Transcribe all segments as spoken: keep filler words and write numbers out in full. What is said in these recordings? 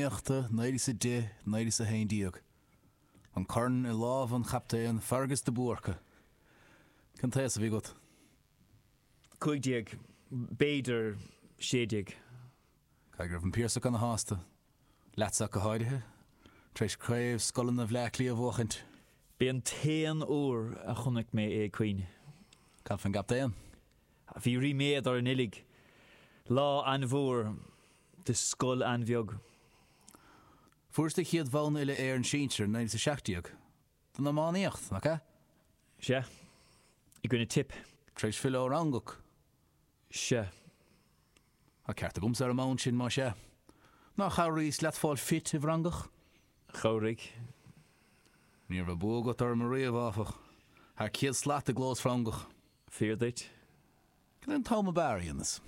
Iománaíochta naoi déag is a deich, naoi déag is a haon déag. An corn i lámh an chaptaein Fergus de Búrca. Cén t-aois a bhí agat? Cúig déag, b'fhéidir sé déag. Caithfidh go raibh an Piarsach ana shásta, leatsa ach go háirithe, tar éis Craobh Scoileanna Bhleá Cliath a bhuachaint. B'é an t-aon uair a chonaic mé é ag caoineadh. Cad faoin gcaptaen? Bhí ríméad orainn uilig. Lá an-mhór do scoil an-bheag. Fuairis do chéad bhonn uile-Éireann sinsir in naoi déag is a seacht déag, don iománaíocht, nach ea? Sea. I gcoinne Tipp. Tar éis filleadh ó Fhrongoch. Sea. Tá ceart agamsa ar an mbonn sin, más ea. Nár chabhraíos leat fáil fit i bhFrongoch? Chabhraigh. Ní raibh bua agat orm ariamh, áfach. Thar céad slat i gclós Frongoch. Fíor duit. Cad é an t-am ab fhearr a dhéanas?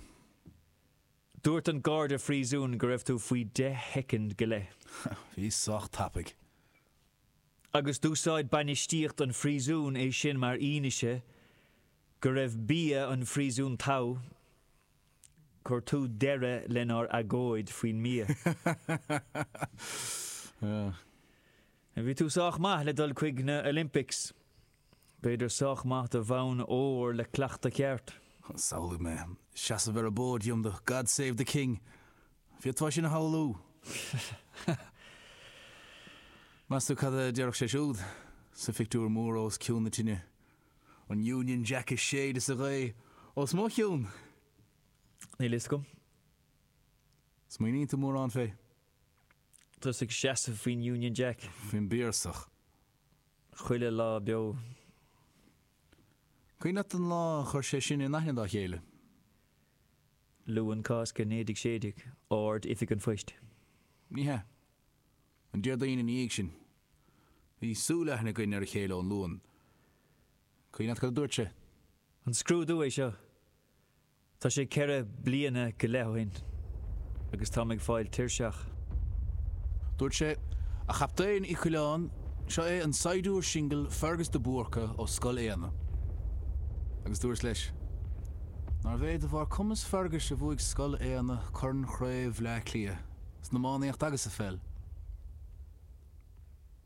Dúirt an garda phríosúin go raibh tú faoi deich shoicind go leith. Bhíos sách tapaidh. Agus d'úsáid bainistíocht an phríosúin é sin mar fhianaise go raibh bia an phríosúin togha. Chuir tú deireadh lenár agóid faoin mbia. Bhí tú sách maith le dul chuig na Olympics. B'fhéidir sách maith do bhonn óir le cleachtadh ceart. Samhlaigh mé ag seasamh ar an bpóidiam do God Save the King. Bhféadfá sin a shamhlú? Meas tú cad a déarfadh sé siúd sa phictiúr mór os cionn na tine? An Union Jack ag séideadh sa ghaoth os mo chionn? Níl fhios agam. Smaoiníonn tú mórán fé? Tusa ag seasamh faoin Union Jack. Faoin bPiarsach. Chuile lá beo. Cuimhin leat an lá a chuir sé sinn in aithne dá chéile? Luan Cásca naoi déag sé déag, Ard-Oifig an Phoist. Ní hea. An Déardaoin ina dhiaidh sin. Bhí súil-aithne againn ar a chéile ón Luan. Cuimhin leat cad a dúirt sé? An scrúdú é seo? Tá sé ceithre bliana go leith ó shin agus táim ag fáil tuirseach. Dúirt sé, A Chaptaen Uí Choileáin, seo é an saighdiúir singil Fergus de Búrca ó Scoil Éanna. Agus dúras leis, Nárbh é de bharr cumas Ferguis a bhuaigh Scoil Éanna Corn Chraobh Bhleá Cliath, san iománaíocht agus sa pheil.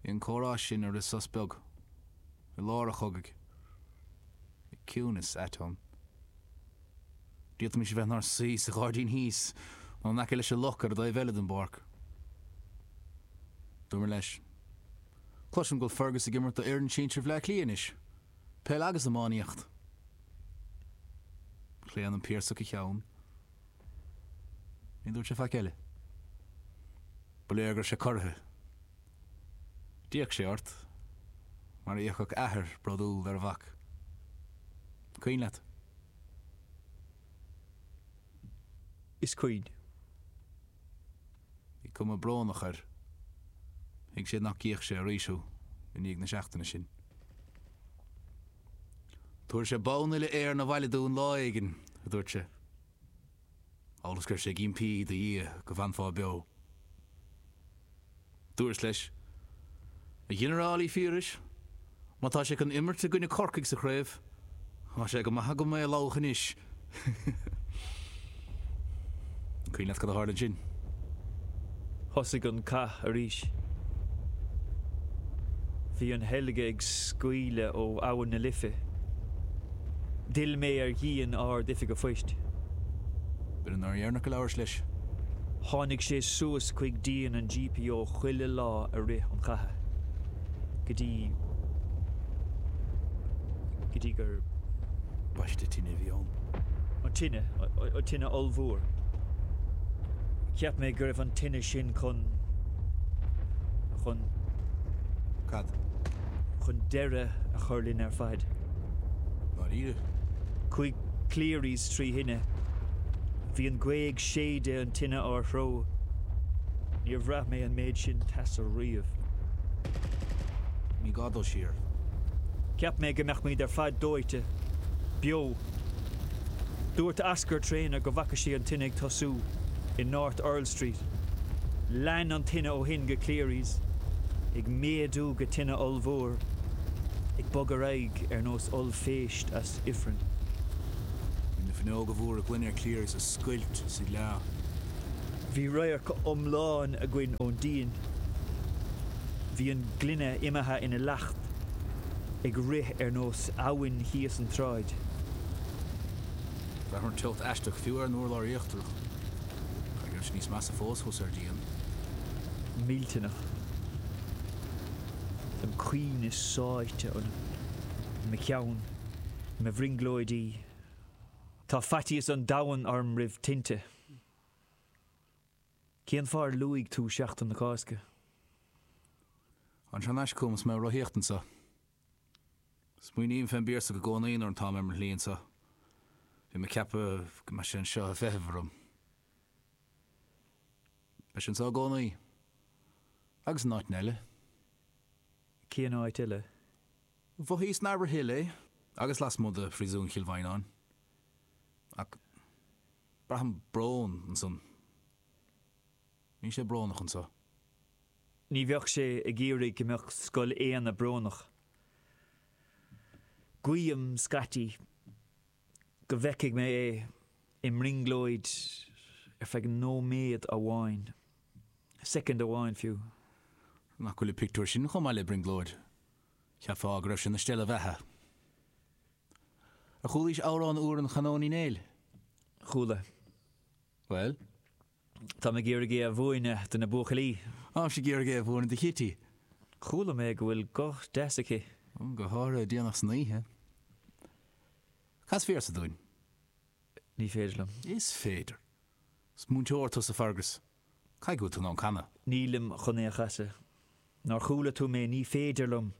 Bhí an comhrá sin i rith sos beag, i lár an chogaidh. Bhí ciúnas ait ann. D'fhéadfaimis a bheith inár suí sa ghairdín thíos nó in aice leis an loch ar an dtaobh eile den bpáirc. Dúramar leis, Cloisim go bhfuil Fergus ag imirt do fhoireann sinsir Bhleá Cliath anois, peil agus iománaíocht. Chlaon an Piarsach a cheann. Ní dúirt sé faic eile. Ba léir go raibh sé corraithe. D'fhéach sé ort, mar a fhéachfadh athair bródúil ar a mhac. Cuimhin leat? Is cuimhin. Bhí cuma brónach air. Thuig sé nach gcífeadh sé arís thú i ndiaidh na seachtaine sin. Tabharfaidh sé bonn uile-Éireann abhaile dúinn lá éigin, a dúirt sé. Amhail is go raibh sé ag impí do Dhia go bhfanfá beo. Dúras leis, A Ghinearáil Uí Phiarais, má tá sé chun imirt i gcoinne Corcaigh sa chraobh, tá sé go maith agam é a lamhach anois. An cuimhin leat cad a tharla ansin? Thosaigh an cath arís. Bhí an sheilg ag scaoileadh ó Abhainn na Life. D'fhill mé ar dhíon Ard-Oifig a' Phoist. B'in an uair dheireanach a labhrais leis. Tháinig sé suas chuig díon an GPO chuile lá i rith an chatha, go dtí, go dtí gur. Baiste tine a bhí ann. An tine, an tine ollmhór. Cheap mé go raibh an tine sin chun, chun. Cad? Chun deireadh a chur linn ar fad. Ndáiríre? Chuaigh Cleary's trí thine. Bhí an ghaoth ag séideadh an tine ár dtreo. Níor bhraith mé an méid sin teasa riamh. Ní gá dul siar. Cheap mé go mbeadh muid ar fad dóite. Beo. Dúirt Oscar Traynor go bhfaca sé an tine ag tosú i North Earl Street. Lean an tine ó shin go Cleary's, ag méadú go tine ollmhór, ag bogadh ar aghaidh ar nós ollphéist as ifreann. Bhí na fuinneoga mhóra gloine ar Cleary's ag scoilt is ag leá. Bhí radharc iomlán againn ón díon. Bhí an gloine imithe ina leacht, ag rith ar nós abhainn thíos an tsráid. Bhraith an teocht aisteach fiú ar an urlár íochtarach. Caithfidh go raibh sé níos measa fós thuas ar díon. Millteanach. An caoineadh sáite ionam, i mo cheann, i mo bhrionglóidí. Tá faitíos an domhain orm roimh tinte. Cén fáth ar luaigh tú Seachtain na Cásca? Tháinig sé thar n-ais chugam is mé ag rothaíocht anseo. Smaoiním fén bPiarsach i gcónaí nuair atáim ar mo shlí anseo. Bhí mé ag ceapadh go mbeadh sé anseo ag feitheamh orm. Beidh sé anseo i gcónaí. Agus in áiteanna eile. Cén áit eile? Mhothaíos in Arbour Hill é, agus lasmuigh de phríosún Chill Mhaighneáin. Ach braithim brón ansan. Níl sé brónach anseo. Ní bheadh sé ag iarraidh go mbeadh Scoil Éanna brónach. Guím scaití go bhfeicfidh mé é i mbrionglóid ar feadh nóiméad amháin, soicind amháin fiú. Nach bhfuil an pictiúr sin chomh maith le brionglóid? Cheapfá go raibh sé ina stealladh bheatha. Ar chualaís amhrán úr an Chanóin Uí Néill? Chuala. Bhuel? Tá mé ag iarraidh é a mhúineadh do na buachaillí. Táimse ag iarraidh é a mhúineadh do Chití. Chuala mé go bhfuil guth deas aici. Go háirithe déanach san oíche. Cas véarsa dúinn. Ní féidir liom. Is féidir. Is múinteoir tusa Fergus. Caithfidh go bhfuil tú in ann canadh. Nílim chun é a chasadh. Nár chuala tú mé, ní féidir liom.